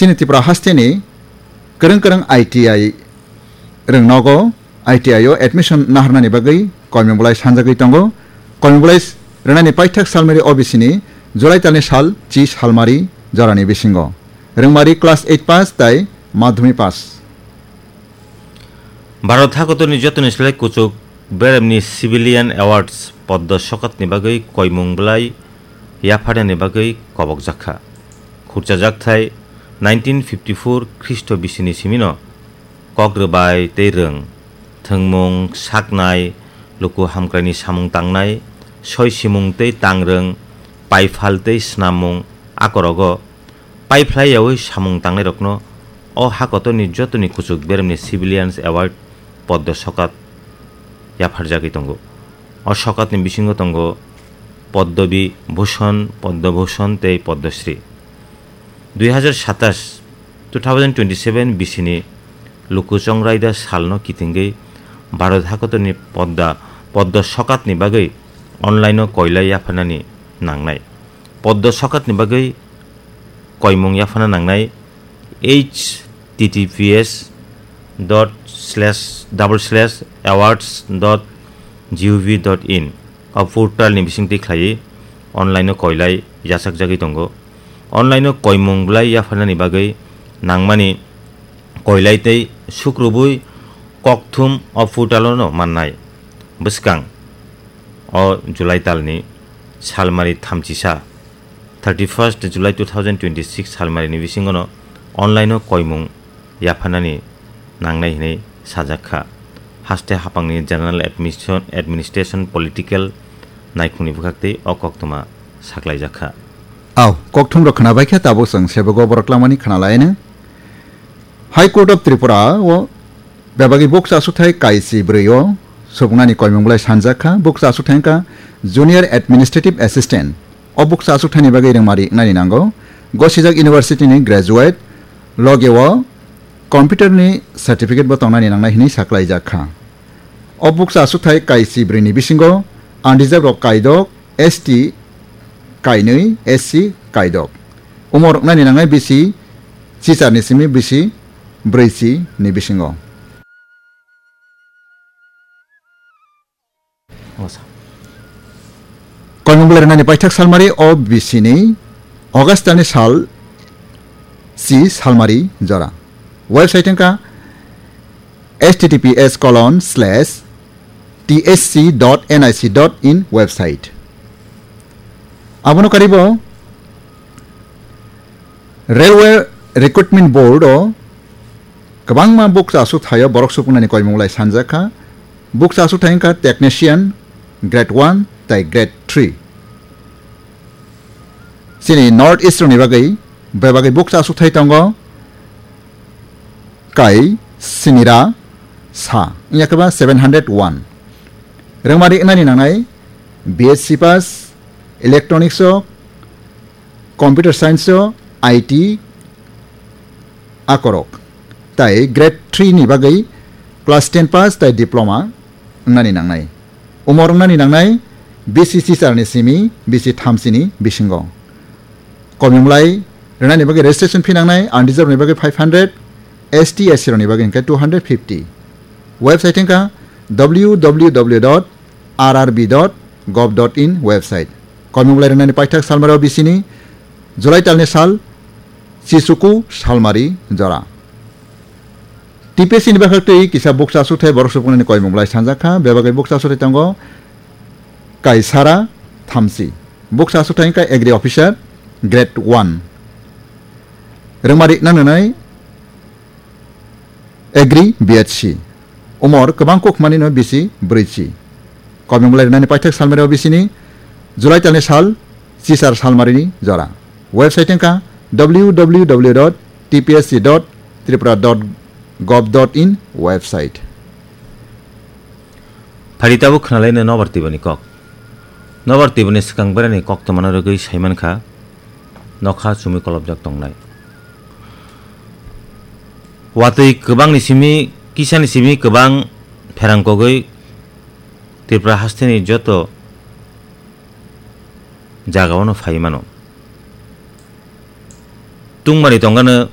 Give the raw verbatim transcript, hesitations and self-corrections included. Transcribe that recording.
Chini Tripura hasteni kwrwng kwrwng I T I rwng nogo I T I o admission naharnani bagwi koimung bolai sanjagwi tongo. Koimung bolai rwnani paithak salmari O B C ni July talni sal chi salmari jorani bisingo. Rwngmari class eight pass tai madhyamik pass. Bharat hakotorni jotoni slai kuchuk beremni Civilian Awards Poddo Sokatni bagwi koimung bolai yapharnani bagwi kobokjakha. Khurchajak thai nineteen fifty-four Khristo bisini simino kok rwbai tei rwng, thwngmung, saknai, luku hamkraini samung tangnai, soi simung tei tangrwng, paiphal tei snammung, a korogo paiphlai yaui samung tangnairokno o hakotorni jotoni kuchuk beremni Civilians Award Poddo Sokat yapharjagwi tongo. O sokatni bisingo tongo Padma Bhushan, Padma Bhushan tei Padma Shri. Dui hazar satas, two thousand twenty-seven bisini luku chongraida salno kitingwi Bharat hakotorni podda, poddo sokatni bagwi online-o koilai yapharnani nangnai. Poddo sokatni bagwi koimung yaphana nangnai H T T P S dot slash double slash awards dot G O V dot in o portal ni bisingtwi khlaiwi online-o koilai yachakjagwi tongo. Online-o koimung bolai yapharnani bagwi nangmani koilai tei sukrubwi kokthum o portal-o no mannai. Bwskang o July talni salmari thamchisa, thirty-first July two thousand twenty-six salmarini bisingono online-o koimung yapharnani nangnai hinwi sajak kha. Haste hapangni General Admission, Administration Political naikhungni bwkhaktwi o koktwma saklaijak kha. Au, kokthumrok khwnabai khe tabuk chwng sebogo borok langmani khwnalaino. High Court of Tripura o bebagwi bukcha aswkthai kaisi bwrwi o subungnani koimung bolai sanjak kha. Bukcha aswkthai wngkha Junior Administrative Assistant. O bukcha aswkthaini bagwi rwngmari wngnani nango. Gosijak University ni graduate, loge o computer ni certificate bo tongnani nangnai hinwi saklaijak kha. O bukcha aswkthai kaisi bwrwi ni bisingo unreserved rok kaidok, S T kainwi, S C kaidok. Umor wngnani nangnai bisi chichar ni simi bisi brwichi ni bisingo. Koimung bolai rwnani paithak salmari O B C ni August ni sal si salmari jora. Website wngkha H T T P S colon slash T S C dot N I C dot in website. Abono karibo Railway Recruitment Board o kwbangma bukcha aswkthaio borok supungnani koimung lai sanjak kha. Bukcha aswkthai wngkha technician grade one tai grade three. Chini North East rokni bagwi bebagwi bukcha aswkthai tongo. Kai sinira sa wngya khe ba seven hundred one. Rwngmari wngnani nangnai B S C pass, electronics o, computer science o, I T akorok. Tai grade three ni bagwi class ten pass tai diploma wngnani nangnai. Umor wngnani nangnai B C chichar ni simi B C thamchi ni bisingo. Koimung lai rwnani bagwi registration fee nangnai, unreserved ni bagwi five hundred, S T, S C rokni bagwi hwnkhe two hundred fifty. Website wngkha W W W dot R R B dot gov dot in website. Koimung lai rwnani paithak salmari O B C ni July talni sal chichuku salmari jora. T P S C ni bwkhaktwi kisa bukcha aswkthai borok supungnani koimung lai sanjak kha, bebagwi bukcha aswkthai tongo Kaisara Thamchi. Bukcha aswkthai wngkha Agri Officer grade one. Rwngmari nangnai Agri B H C. Umor kwbang kuk manino bisi brwichi. Koimung lai rwnani paithak salmari O B C ni July talni sal chichar salmarini jora. Website wngkha W W W dot T P S C dot tripura dot gov dot in website. Phari tabuk khwnalaino nobar tibani kok. Nobar tibani swkang berani kok tongmano rwgwi saimankha nokha chumui kolobjak tongnai. Watwi kwbangni simi, kisani simi kwbang pherang kogwi Tripura hasteni joto jagao no phai mano. Tungmani tongano